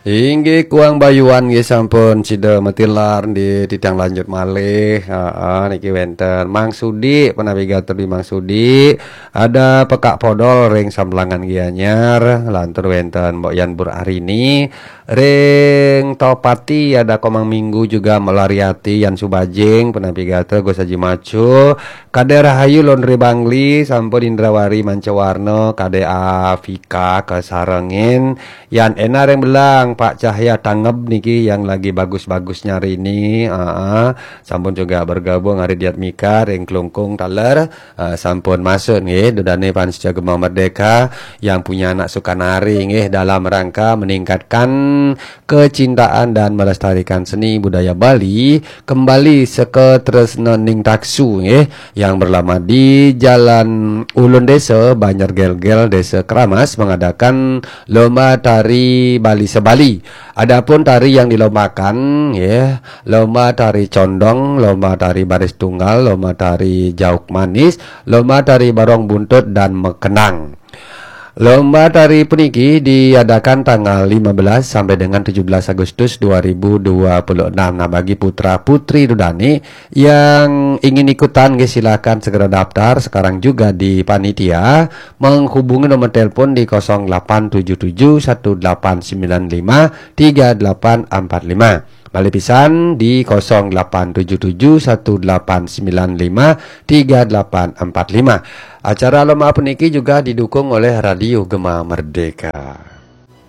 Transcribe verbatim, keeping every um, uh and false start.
Inggih kuang bayuan nggih sampun sida matilar di titiang lanjut malih. Heeh, niki wenten Mang Sudi, penawi gatur di Mang Sudi. Ada Pekak Podol ring Sambelangan Gianyar, lantur wenten Mbok Yan Bur Arini, ring Topati ada Komang Minggu juga Melariati Yan Subajing, penawi gatur Gus Haji Macu, Kade Rahayu Laundry Bangli, sampun Indrawari Mancawarna, Kade Afika kasarengin, Yan Ena ring Belang, Pak Cahya Tangeb niki yang lagi bagus-bagusnya hari ini. Heeh. Sampun juga bergabung hari Diatmika ring Klungkung taler. Eh, sampun masuk nggih, dodane Pansca Gema Merdeka yang punya anak Sukanari nggih, dalam rangka meningkatkan kecintaan dan melestarikan seni budaya Bali, kembali seka tresna ning taksu nggih, yang berlama di Jalan Ulun Desa, Banjar Gelgel, Desa Keramas, mengadakan lomba tari Bali Sebali. Adapun tari yang dilombakan, ya, lomba tari condong, lomba tari baris tunggal, lomba tari jauk manis, lomba tari barong buntut dan mekenang. Lomba tari puniki diadakan tanggal lima belas sampai dengan tujuh belas Agustus dua ribu dua puluh enam. Nah, bagi putra-putri dudane yang ingin ikutan, nggih, silakan segera daftar sekarang juga di panitia, menghubungi nomor telepon di kosong delapan tujuh tujuh satu delapan sembilan lima tiga delapan empat lima. Malih pisan di kosong delapan tujuh tujuh satu delapan sembilan lima tiga delapan empat lima. Acara lomba puniki juga didukung oleh Radio Gema Merdeka.